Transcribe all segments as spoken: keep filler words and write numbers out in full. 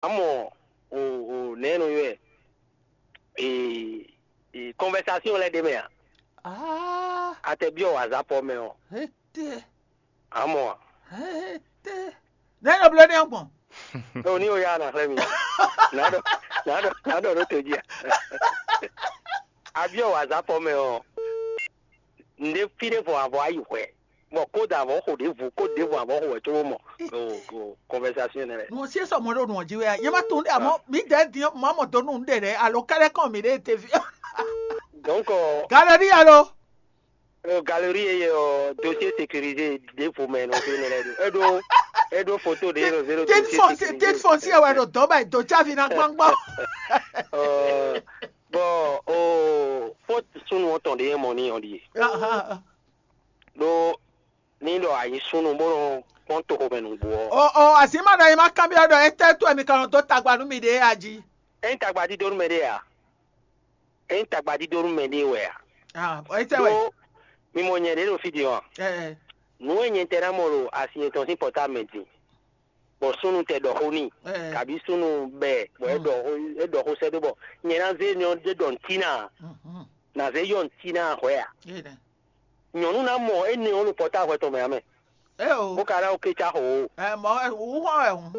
Amɔ o o nɛɛ nɔ ywɛ e e conversation lɛ ɖe mɛ a? Ah, Atɛ biɔ wazapɔ mɛ ɔ. Ete, Amɔ a? Ete. Ne ɖo bló ne gbɔn. O ni o ya na xlɛ mi. Na dɔ na dɔ na dɔ ɖo to jí a? Abiɔ wazapɔ mɛ ɔ. Nde fi ɖe vɔ avɔ ayi hwɛ. Bɔ ko da avɔ xo ɖe vu ko ɖe vɔ avɔ xo wɛ tso mɔ. O o conversation ne lɛ. Nɔ sie sɔ mɔ ɖo nɔ ji wɛ a. Ye ma tun ɖe amɔ mi dɛ din mɔ mɔ do nu ɖe ɖe alo kɛlɛ kɔn mi ɖe te fi. Donc, euh, Galerie alo. Euh, galerie et euh, dossier sécurisé de vous mais non c'est une règle. Edo edo photo de zéro zéro. Tit foncier tit foncier wɛ ɖo dɔn bɛ do tsavi na gbɔngbɔn. Euh, bon, oh, faute sunu on ton de mon ni on dit. Ɖó ní ɖɔ a nyí súnnu bó nɔ kpɔ́n toxomɛ nǔgbó ɔ́. O o azǐn ma ɖɔ nyi ma kanbyɔ́ ɖɔ étɛ́ wɛ mi ka nɔ dó tagba nú miɖée a jí? É nyí tagba dídó nú mɛɖé a? É nyí tagba dídó nú mɛɖé wɛ a? Ah, étɛ́ wɛ. Ɖó mi mɔ nyɛ ɖě ɖo fí din ɔ́ a? Ɛ ɛ. Nǔ e nyɛ tɛ ná mɔ ɖo asi yětɔn sín pɔtámɛ din, bɔ súnnu tɛ ɖɔ xó n'i, ɛ ɛ. Kabí súnnu bɛ bɔ é ɖɔ xó é ɖɔ xó sɛ́ dó bɔ nyɛ ná zé nyɔ ɖé ɖɔ ntí ná, Mhm. Ná zé yɔ ntí ná hwɛ a? Nyɔ̌nu ná mɔ énɛ́ ɔ́ ɖo pɔ́táhwɛ tɔn mɛ ǎ mɛ, É o. Bó ka ná wú kécá xo ó. Ɛ mɔ wú hɔn wɛ hǔn.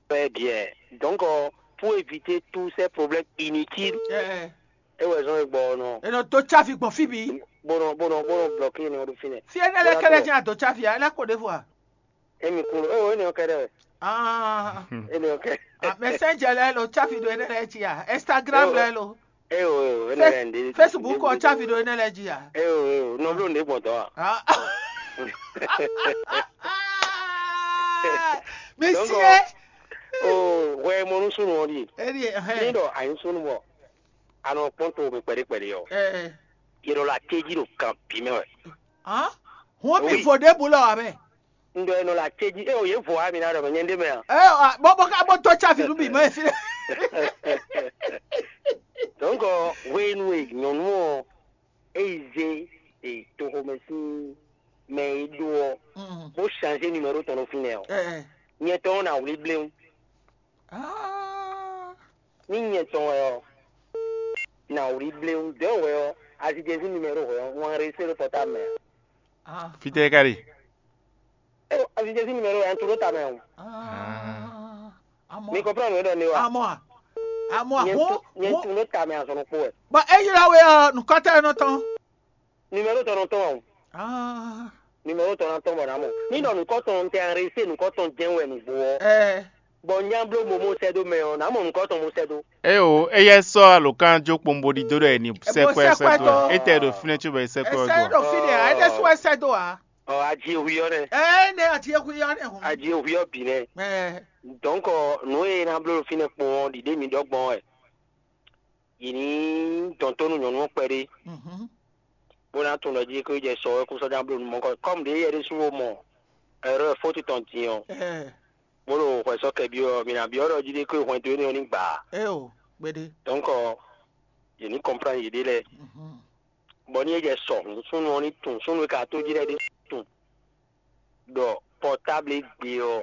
Très bien. Donc, euh, pour éviter tous ces problèmes inutiles, Ɛ é wɛ zɔn e gbɔ ɔ́ nɔ. È nɔ dó tsáfi gbɔn fí bǐ. Bó nɔ bó nɔ bó nɔ bloqué nɔ ɖo fínɛ́. Fí énɛ́ lɛ́ɛ kɛ́ɖɛ́ jɛ́n a dó tsáfi ǎ, é ná ko ɖěvo a? Émi kún ɖo éwo énɛ́ ɔ́ kɛ́ɖɛ́ wɛ. Ah, Énɛ́ ɔ́ kɛ́. Ah, mɛ sɛ́njɛ lɛ́ɛ lo tsáfi ɖo énɛ́ lɛ́ɛ jí a? Instagram lɛ́ɛ lo. Éwo éwo énɛ́ lɛ́ɛ ndé. Facebook ɔ tsáfi ɖo énɛ́ lɛ́ɛ jí a? Éwo éwo nɔ bló ndé gbɔn dɔn a? Ah. Mi Donc, sie. Oh, hwɛ mɔ nú súnnu ɔ́ ɖi. Éɖi Ní ɛhɛn. Ɖɔ a nyí súnnu bɔ a nɔ kpɔ́n to mi kpɛɖé kpɛɖé ɔ́, Ɛ yě ɖɔ la téjí ɖo kan bǐ mɛ wɛ. Hɔn mi Oui. Vo ɖěbǔ lɔ ǎ mɛ. Un ɖɔ è nɔ la téjí é o yě vo a mi ná ɖɔ mɛ nyɛ ɖé mɛ a? Ɛ bɔ bɔ ká bɔ dó tsáfi nú bǐ mɔ ɛ fi. Donc, hwenu e nyɔ̌nu ɔ́ é yi zé e toxomɛ sín mɛ e ɖó ɔ́, bó changé numéro tɔn ɖo fínɛ́ ɔ́, nyɛ tɔn ɔ́ ná wlí bléwún. Ní nyɛ tɔn wɛ ɔ́, ná wlí bléwún dɔ̌ wɛ ɔ́, azijɛzí numéro hwɛ ɔ́, wọ́n résé ɖo pɔ́támɛ ǎ. Fítɛ́ ká ɖe? Azijɛzí numéro wɛ un tunú tamɛ o. Mi kɔnplan nǔ e ɖɔ ne wa? Amɔ a? Amɔ a? Nyɛ un Hɔn tunú tamɛ azɔn ɖokpó wɛ. Bɔ e ylɔ́ we ɔ́, nukɔntɔ́ e nɔ tɔn. Numéro tɔn nɔ tɔn o. Ah. Numéro tɔn nɔ tɔn bɔ ná mɔ. Ní ɖɔ nukɔntɔn tɛ arrêté nukɔntɔn jɛn wɛ nǔgbó ɔ́. Ɛ. Bɔ nyá bló momo sɛ dó mɛ ɔ́, ná mɔ nukɔntɔn mo sɛ dó. Eo, eya sɔ alokán jó kpombo ɖidó ɖɔ ni sɛkpɛ sɛkpɛ. Etɛ ɖo fínɛ tso bɛ sɛkpɛ Ese ɔjɔ. Ɖo fínɛ a, ene sɔ ese do a. Ɔ, adzi ehwi ɔ́ nɛ. Ene adzi ehwi ɔ́ nɛ hɔn. Adzi ehwi ɔ́ bǐ nɛ. Ɛ. Donc, nǔ e ná bló ɖo fínɛ kpɔn ɔ́, ɖiɖe mi ɖɔ gbɔn wɛ. Yě ní dɔn tó nú nyɔ̌nu ɔ́ kpɛɖé, bó ná tunwun ɖɔ jí é ko yi jɛ sɔ wɛ kú sɔ́ ná bló nú mɔ̌ kɔ. Kɔ́mu ɖě yɛ ɖésú wo mɔ ɛrɔ́ fótu tɔn din ɔ́, bó ɖo hwɛ sɔ́ kɛ byɔ́ ɔ́, mǐ ná byɔ́ ɖɔ jí ɖé ko yi hwɛndo énɛ́ ɔ́ ní gbǎ ǎ. Éo, gbeɖé. Donc, yě ní kɔnplán yěɖée lɛ́ɛ. Bɔ ní é jɛ sɔ hǔn súnnu ɔ́ ní tunwun, súnnu e ka tó jí lɛ́ɛ ɖésú tunwun. Ɖɔ pɔtáblu e gbe ɔ́,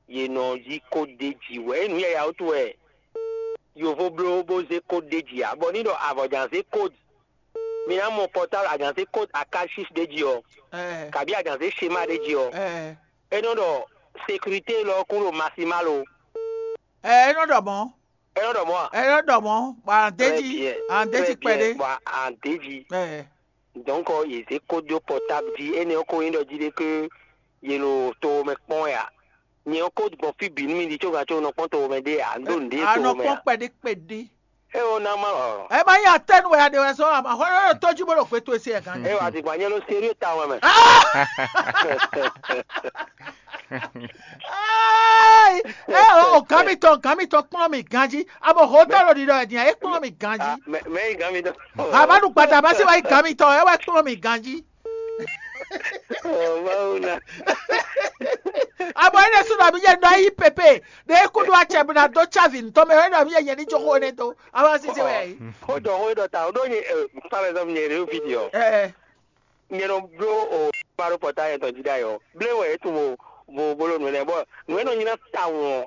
yě nɔ yí kódéji wɛ. É nǔ yaya wútu wɛ yovo bló bó zé kódéji ǎ, bɔ ní ɖɔ avɔ jǎn zé kód, mi ná mɔ pɔtáblu a jǎn zé kód akashif ɖé jí ɔ́, kabi a jǎn zé shema ɖé jí ɔ́, é nɔ ɖɔ sékurité lɔ kún ɖo masimal o. Ɛ é nɔ ɖɔ mɔ̌. É nɔ ɖɔ mɔ̌ a? É nɔ ɖɔ mɔ̌, bɔ a nǎ d'é jí, a nǎ d'é jí kpɛɖé. Bɔ a nǎ d'é jí. Ɛ Donc, yě zé kódó pɔtáblu jí, énɛ́ ɔ́ ko nyí ɖɔ jí ɖé ké yě ɖo to mɛ kpɔ́n wɛ ǎ. Nyɛ ɔ́ kó gbɔn fí bǐ nú mi ɖi có gǎn có nɔ kpɔ́n to mɛ ɖé ǎ, un ɖó nǔɖé to mɛ ǎ. Kpɔ́n kpɛɖé kpɛɖé. É ɔ́ ná má ɔ. Ɛ má nyí atɛ́nu wɛ a ɖe wɛ sɔ́, àmọ́ hwɛ ɖo tó jí bó ɖo gbé towe se ɛ gán. É wà dìgbà nyɛ ló serieux tawun wɛ mɛ. Ai, é o gǎn mitɔn, gǎn mitɔn kplɔ́n mi ganjí. Abo hǒtɔ́ ɖo ɖiɖɔ ɛ din, é kplɔ́n mi ganjí. Mɛ mɛ yi gǎn mi dɔn. Abanu gbada ma se wa yi gǎn mitɔn, é wɛ kplɔ́n mi ganjí. Ɔ Mawu na. Abo é ɖésú ɖɔ mi yɛ nɔ yi pépé, ɖe é kúɖu acɛ bó ná dó tsávi ntɔ́ mɛ, é ɖɔ mi yɛ yɛ ní jó xó énɛ́ dó. Abo sisi wɛ yi. Ó jɔ xó é ɖɔ ta, ó ɖó nyɛ, par exemple, nyɛ ɖě ɖo fí din ɔ́. Ɛ Nyɛ nɔ bló o kpáɖó pɔtá yɛtɔn jí ɖ'ayǐ ɔ́, blé wɛ é tunwun o. Bo bó ɖo nǔ énɛ́ bɔ nǔ e nɔ nyi ná tawun ɔ́,